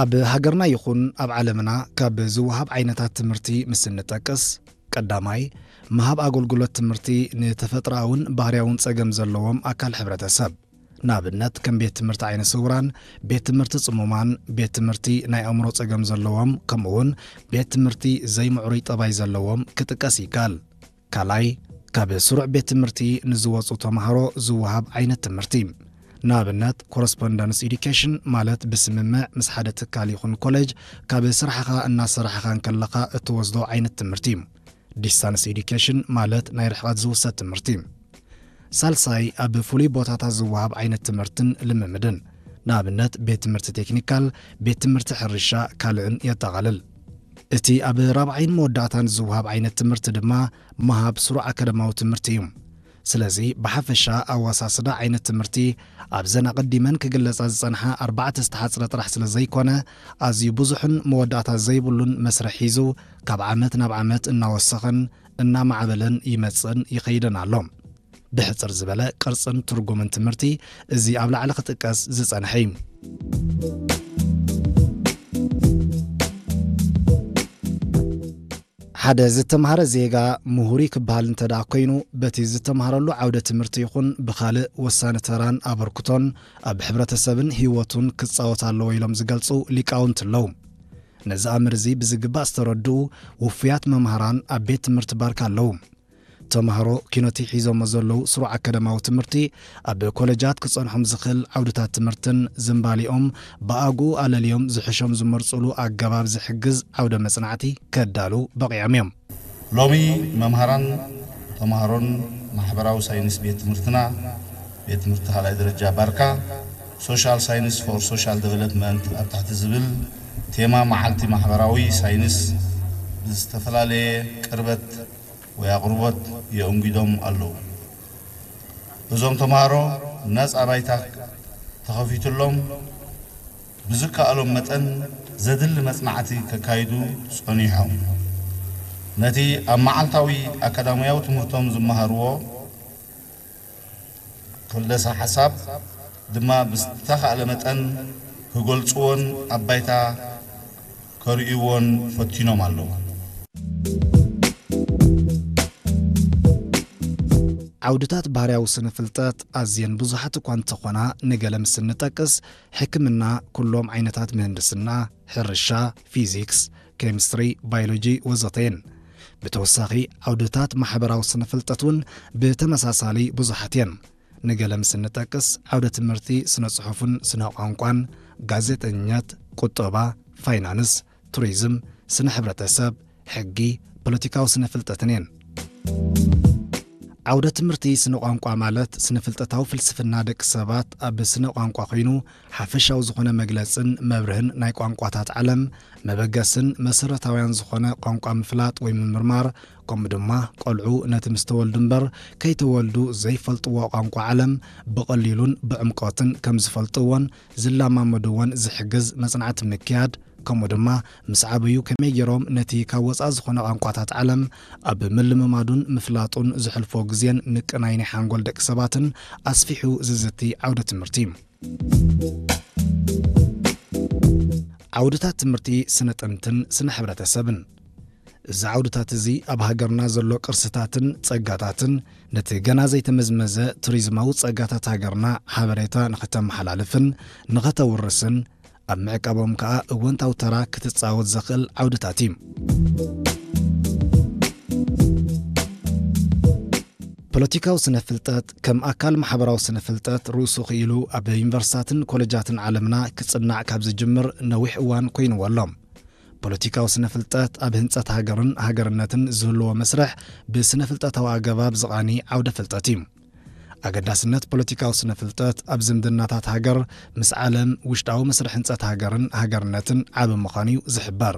ኣብ ሃገርና ይኹን ኣብ ዓለምና ካብ ዝወሃብ ዓይነታት ትምህርቲ ምስ እንጠቅስ፣ ቀዳማይ፣ ምሃብ ኣገልግሎት ትምህርቲ ንተፈጥሮኣውን ባህርያውን ጸገም ዘለዎም ኣካል ሕብረተሰብ፣ ንኣብነት ከም ቤት ትምህርቲ ዓይነ ስውራን፣ ቤት ትምህርቲ ጽሙማን፣ ቤት ትምህርቲ ናይ ኣእምሮ ጸገም ዘለዎም፣ ከምኡውን ቤት ትምህርቲ ዘይምዕሩይ ጠባይ ዘለዎም ክጥቀስ ይከኣል። ካልኣይ፣ ካብ ስሩዕ ቤት ትምህርቲ ንዝወጹ ተማሃሮ ዝወሃብ ዓይነት ትምህርቲ፣ ንኣብነት ኮረስፖንደንስ ኤዱኬሽን ማለት ብስምምዕ ምስ ሓደ ትካል ይኹን ኮሌጅ ካብ ስራሕኻ እናሰራሕኻ እንከለኻ እትወስዶ ዓይነት ትምህርቲ እዩ። ዲስታንስ ኤዱኬሽን ማለት ናይ ርሕቐት ዝውሰድ ትምህርቲ። ሳልሳይ፣ ኣብ ፍሉይ ቦታታት ዝወሃብ ዓይነት ትምህርትን ልምምድን፣ ንኣብነት ቤት ትምህርቲ ቴክኒካል፣ ቤት ትምህርቲ ሕርሻ ካልእን የጠቓልል። እቲ ኣብ ራብዓይን መወዳእታን ዝወሃብ ዓይነት ትምህርቲ ድማ ምሃብ ስሩዕ ኣካዳማዊ ትምህርቲ እዩ። ስለዚ ብሓፈሻ ኣወሳስዳ ዓይነት ትምህርቲ ኣብዘን ኣቐዲመን ክግለጻ ዝጸንሓ ኣርባዕተ ዝተሓጽረ ጥራሕ ስለ ዘይኮነ፣ ኣዝዩ ብዙሕን መወዳእታ ዘይብሉን መስርሕ ሒዙ ካብ ዓመት ናብ ዓመት እናወሰኸን እናማዕበለን ይመጽእን ይኸይድን ኣሎ። ብሕጽር ዝበለ ቅርጽን ትርጉምን ትምህርቲ እዚ ኣብ ላዕሊ ክጥቀስ ዝጸንሐ እዩ። ሓደ ዝተምሃረ ዜጋ ምሁር እዩ ክበሃል እንተ ደኣ ኮይኑ፣ በቲ ዝተምሃረሉ ዓውደ ትምህርቲ ይኹን ብኻልእ ወሳኒ ተራን ኣበርክቶን ኣብ ሕብረተሰብን ህይወቱን ክጻወት ኣለዎ ኢሎም ዝገልጹ ሊቃውንቲ ኣለዉ። ነዚ ኣምር እዚ ብዝግባእ ዝተረድኡ ውፉያት መምሃራን ኣብ ቤት ትምህርቲ ባርካ ኣለዉ። ተምሃሮ ኪኖቲ ሒዞሞ ዘለዉ ስሩዕ ኣካዳማዊ ትምህርቲ ኣብ ኮለጃት ክጸንሖም ዝኽእል ዓውድታት ትምህርትን ዝንባሊኦም ብኣግኡ ኣለልዮም ዝሕሾም ዝመርጹሉ ኣገባብ ዝሕግዝ ዓውደ መጽናዕቲ ከዳልዉ በቒዖም እዮም። ሎሚ መምሃራን ተምሃሮን ማሕበራዊ ሳይንስ ቤት ትምህርትና፣ ቤት ትምህርቲ ካልኣይ ደረጃ ባርካ፣ ሶሻል ሳይንስ ፎር ሶሻል ዴቨሎፕመንት ኣብ ትሕቲ ዝብል ቴማ መዓልቲ ማሕበራዊ ሳይንስ ብዝተፈላለየ ቅርበት ወይ ኣቕርቦት የእንጊዶም ኣለዉ። እዞም ተምሃሮ ነጻ ባይታ ተኸፊቱሎም ብዝከኣሎም መጠን ዘድሊ መጽናዕቲ ከካይዱ ጸኒሖም። ነቲ ኣብ መዓልታዊ ኣካዳሚያዊ ትምህርቶም ዝመሃርዎ ክልደሳ ሓሳብ ድማ ብዝተኻእለ መጠን ክገልጽዎን ኣብ ባይታ ከርእይዎን ፈቲኖም ኣለዉ። ዓውድታት ባህርያዊ ስነ ፍልጠት ኣዝየን ብዙሓት እኳ እንተኾና፣ ንገለ ምስ እንጠቅስ፣ ሕክምና፣ ኩሎም ዓይነታት ምህንድስና፣ ሕርሻ፣ ፊዚክስ፣ ኬሚስትሪ፣ ባዮሎጂ ወዘተ እየን። ብተወሳኺ፣ ዓውድታት ማሕበራዊ ስነ ፍልጠት እውን ብተመሳሳሊ ብዙሓት እየን። ንገለ ምስ እንጠቅስ፣ ዓውደ ትምህርቲ ስነ ጽሑፍን ስነ ቋንቋን፣ ጋዜጠኝነት፣ ቁጠባ፣ ፋይናንስ፣ ቱሪዝም፣ ስነ ሕብረተሰብ፣ ሕጊ፣ ፖለቲካዊ ስነ ፍልጠትን እየን። ዓውደ ትምህርቲ ስነ ቋንቋ ማለት ስነ ፍልጠታዊ ፍልስፍና ደቂ ሰባት ኣብ ስነ ቋንቋ ኮይኑ፣ ሓፈሻዊ ዝኾነ መግለጽን መብርህን ናይ ቋንቋታት ዓለም መበገስን መሰረታውያን ዝኾነ ቋንቋ ምፍላጥ ወይ ምምርማር፣ ከምኡ ድማ ቆልዑ ነቲ ምስ ተወልዱ እምበር ከይተወልዱ ዘይፈልጥዎ ቋንቋ ዓለም ብቐሊሉን ብዕምቆትን ከም ዝፈልጥዎን ዝለማመድዎን ዝሕግዝ መጽናዕቲ ምክያድ፣ ከምኡ ድማ ምስ ዓበዩ ከመይ ገይሮም ነቲ ካብ ወጻኢ ዝኾነ ቋንቋታት ዓለም ኣብ ምልምማዱን ምፍላጡን ዘሕልፎ ግዜን ምቅናይ ናይ ሓንጎል ደቂ ሰባትን ኣስፊሑ ዝዝቲ ዓውደ ትምህርቲ እዩ። ዓውድታት ትምህርቲ ስነ ጥንትን ስነ ሕብረተሰብን። እዚ ዓውድታት እዚ ኣብ ሃገርና ዘሎ ቅርስታትን ጸጋታትን ነቲ ገና ዘይተመዝመዘ ቱሪዝማዊ ጸጋታት ሃገርና ሓበሬታ ንኸተመሓላልፍን ንኸተውርስን ኣብ ምዕቃቦም ከኣ እወንታዊ ተራ ክትጻወት ዘኽእል ዓውድታት እዩ። ፖለቲካዊ ስነ ፍልጠት ከም ኣካል ማሕበራዊ ስነ ፍልጠት ርእሱ ክኢሉ ኣብ ዩኒቨርሲታትን ኮለጃትን ዓለምና ክጽናዕ ካብ ዝጅምር ነዊሕ እዋን ኮይንዎ ኣሎ። ፖለቲካዊ ስነ ፍልጠት ኣብ ህንጸት ሃገርን ሃገርነትን ዝህልዎ መስርሕ ብስነ ፍልጠታዊ ኣገባብ ዝቓኒ ዓውደ ፍልጠት እዩ። ኣገዳስነት ፖለቲካዊ ስነ ፍልጠት ኣብ ዝምድናታት ሃገር ምስ ዓለም፣ ውሽጣዊ መስርሕ ህንጸት ሃገርን ሃገርነትን ዓቢ ምዃኑ እዩ ዝሕበር።